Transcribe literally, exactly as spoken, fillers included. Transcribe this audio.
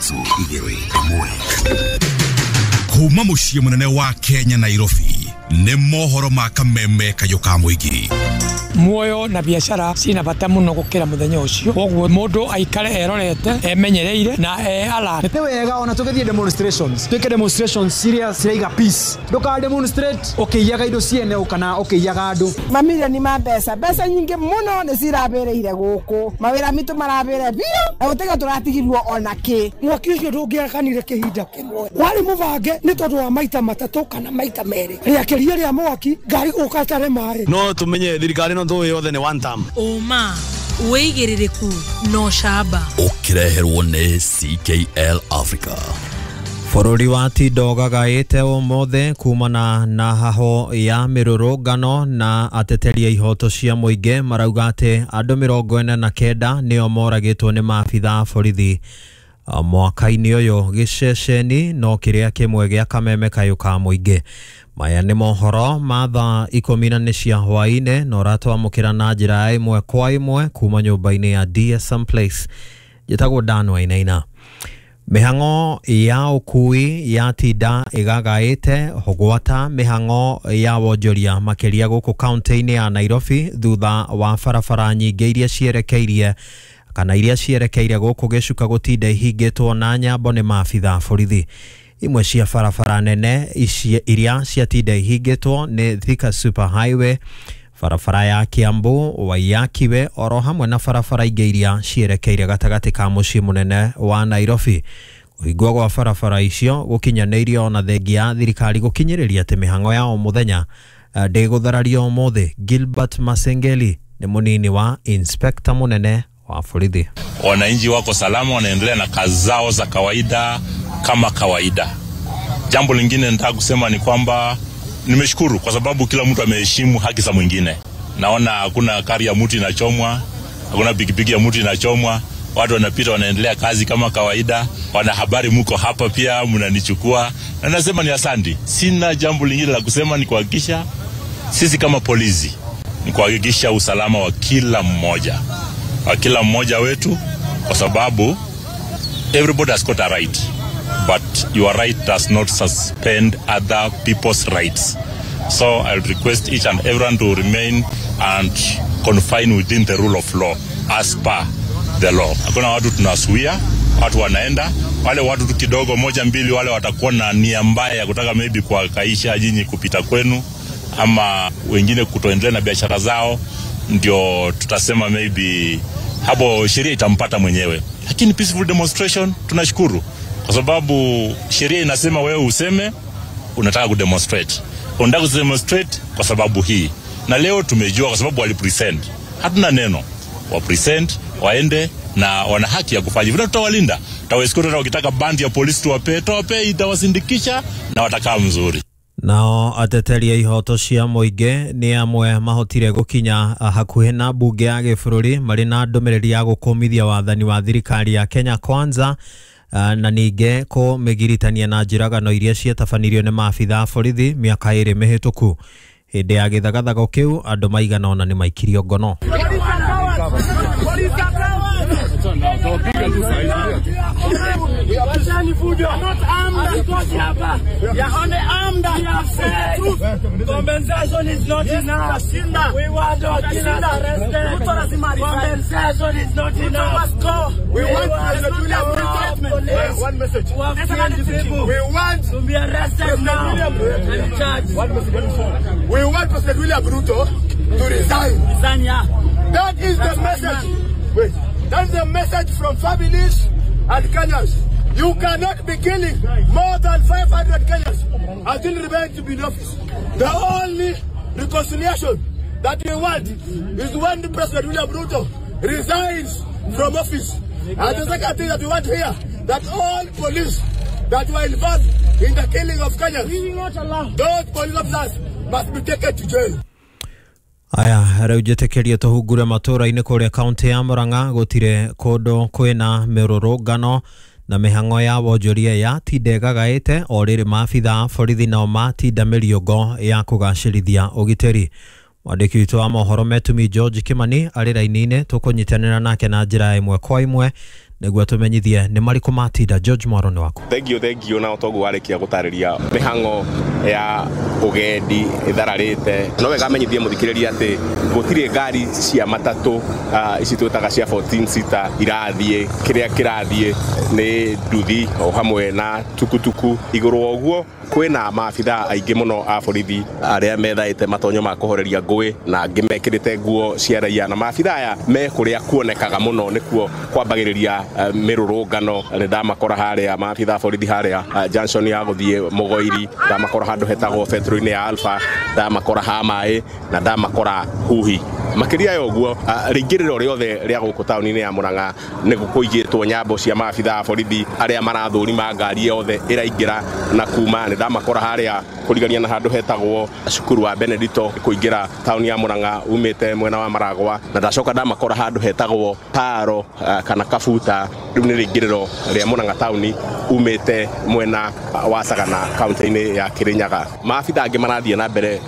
Ithatũ, igĩrĩ, ĩmwe. Kuma mũciĩ mũnene wa Kenya, Nairobi, nĩ mohoro ma Kameme Kayũ ka Mũingĩ. Muoyo na biacara cina bata muno gukira muthenya ucio, koguo mundu aikare erorete, emenyereire na e alert. Nĩ wega ona tũgĩthiĩ demonstrations, twĩke demonstrations ciria ciraiga peace. Ndũka demonstrate ũkĩiyaga indo ciene kana ũkĩiyaga andũ. Mamirioni ma mbeca, mbeca nyingĩ mũno nĩ cirabĩrĩire gũkũ, mawĩra mitũ marabĩre biũ na gũtiga tũratigirwo ona kĩ. Mwaki ũcio ndũngĩakanire kĩhinda kĩmwe, warĩ mũbange nĩ tondũ wa maita matatũ kana maita merĩ rĩakĩria rĩa mwaki ngari gũka tare maĩ. No tumenye thirikari no tũĩ yothe nĩ one term. Ũma, wĩigĩrĩrĩku na ũcamba. Ũkĩreherwo nĩ C K L Africa. Bũrũri wa Tindo ũgagaĩte ũmũthĩ kumana na haho ya mĩrũrũngano, na ateteri a ihoto cia mũingĩ marauga atĩ andũ mĩrongo ĩna na kenda nĩo moragĩtwo nĩ maabitha a borithi mwaka-inĩ ũyũ. Gĩceceni no kĩrĩa kĩmwe gĩa Kameme Kayũ ka Mũingĩ. Maya nĩ mohoro ma thaa ikũmi na nĩ cia hwaĩ-inĩ, na ũratwamũkĩra na njĩra ya ĩmwe kwa ĩmwe kuma nyũmba-inĩ ya D S M Place. Njĩtagwo Dan Wainaina. Mĩhang'o ya ũkui yatinda ĩgagaĩte gwata mĩhang'o ya wonjoria, makĩria gũkũ kaunti-inĩ ya Nairobi, thutha wa barabara nyingĩ iria cierekeirie kana iria cierekeire gũkũ gĩcuka gũtinda ihingĩtwo na nyambo nĩ maabitha a borithi. Imwe cia barabara nene ici iria ciatinda ihingĩtwo nĩ Thika Super Highway, barabara ya Kiambu, Waiyaki oro hamwe na barabara ingĩ iria cierekeire gatagatĩ ka mũciĩ mũnene wa Nairobi. Kũhingwo gwa barabara icio gũkinyanĩirio ona thengia ya thirikari gũkinyĩrĩria atĩ mĩhang'o ya o mũthenya ndĩgũtharario ũmũthĩ. Gilbert Masengeli nĩ mũnini wa inspector mũnene wa borithi. Wananchi wako salama, wanaendelea na kazi zao za kawaida kama kawaida. Jambo lingine nataka kusema ni kwamba nimeshukuru kwa sababu kila mtu ameheshimu haki za mwingine. Naona hakuna gari ya mtu inachomwa, hakuna pikipiki ya mtu inachomwa, watu wanapita, wanaendelea kazi kama kawaida. Wanahabari mko hapa pia mnanichukua, na nasema ni asanti. Sina jambo lingine la kusema, ni kuhakikisha sisi kama polisi ni kuhakikisha usalama wa kila mmoja wa kila mmoja wetu, kwa sababu everybody has got a right, but your right does not suspend other people's rights. So I'll request each and everyone to remain and confine within the rule of law as per the law. Hakuna watu tunazuia, watu wanaenda. Wale watu tu kidogo moja mbili, wale watakuwa na nia mbaya ya kutaka maybe kuwakaisha nyinyi kupita kwenu ama wengine kutoendelea na biashara zao, ndio tutasema maybe hapo sheria itampata mwenyewe. Lakini peaceful demonstration tunashukuru kwa sababu sheria inasema wewe useme unataka kudemonstrate, unataka kudemonstrate kwa sababu hii, na leo tumejua kwa sababu walipresent. Hatuna neno, wa present waende na wana haki ya kufanya hivyo, tutawalinda, tutawaescort. Hata wakitaka bandi ya polisi tuwapee, tuwapee, itawasindikisha na watakaa mzuri. Nao ateteri a ihoto cia mũingĩ nĩ amwe mahotire gũkinya hakuhĩ na mbunge ya gĩbũrũri marĩ na ndũmĩrĩri ya gũkũmithia wathani wa thirikari ya Kenya Kwanza, na ningĩ kũmĩgiritania na njũragano iria ciatabanirio nĩ maabitha a borithi mĩaka ĩrĩ mĩhĩtũku. Hĩndĩ ya gĩthagathago kĩu andũ maigana ũna nĩ maikirio ngono. Compensation is not enough. We want our killers arrested. Compensation is not enough. We want President William Ruto. One message. We want to be arrested now and charged. One message. We want President William Ruto to resign. Resign, yeah. That is the message. Wait. That's the message from families and Kenyans. You cannot be killing more than five hundred Kenyans until remain to be in office. The only reconciliation that we want is when the President William Ruto resigns from office. And the second thing that we want here, that all police that were involved in the killing of Kenyans, those police officers must be taken to jail. Aya, rĩu njĩtĩkĩrie tũhungure matũra-inĩ. Kũrĩa kaunti ya Murang'a gũtirĩ kũndũ kwĩna mĩrũrũngano na mĩhang'o ya wonjoria yatinda ĩgagaĩte, o rĩrĩ maabitha a borithi nao matinda mĩriũngo ya kũgacĩrithia ũgitĩri. Mwandĩki witũ wa mohoro Metumi George Kimani arĩ raini-inĩ, tũkũnyitanĩra nake na njĩra ĩmwe kwa ĩmwe Nĩguo tũmenyithie nĩ marĩkũ matinda. George Mwaro nĩ waku. Thank you, thank you. Na toguo warĩkia gũtarĩria mĩhang'o ya ũgendi ĩthararĩte, no wega menyithie mũthikĩrĩria atĩ gũtirĩ ngari cia matatũ uh, ici twĩtaga cia fourteen seater irathiĩ. Kĩrĩa kĩrathiĩ nĩ nduthi o hamwe na tukutuku. Igũrũ wa ũguo kwĩna maabithaa aingĩ mũno a borithi arĩa methaĩte matonyo ma kũhoreria ngũĩ na angĩ mekĩrĩte nguo cia raia, na maabithaa aya me kũrĩa kuonekaga mũno nĩkuo kwambagĩrĩria uh, mĩrũrũngano. Nĩ ndamakora harĩa maabithaa a borithi harĩa uh, junction ya gũthiĩ Mũgoiri, ndamakora handũ hetagwo betro-inĩ ya Alpha, ndamakora ha maĩ na ndamakora Huhi. Makĩria ya ũguo, rĩingĩrĩro rĩothe rĩa gũkũ taũni-inĩ ya Murang'a nĩ kũigĩtwo nyambo cia maabithaa a borithi arĩa marathũrima ngari yothe ĩraingĩra na kuma. Nĩ ndamakora harĩa kũrigania na handũ hetagwo cukuru wa Benedito kũingĩra taũni ya Murang'a umĩte mwena wa Maragwa, na ndacoka ndamakora handũ hetagwo Taro kana Kabuta. Rĩu nĩ rĩingĩrĩro rĩa Murang'a taũni umĩte mwena wa Sagana kaunti-inĩ ya Kirinyaga. Maabithaa angĩ marathiĩ na mbere.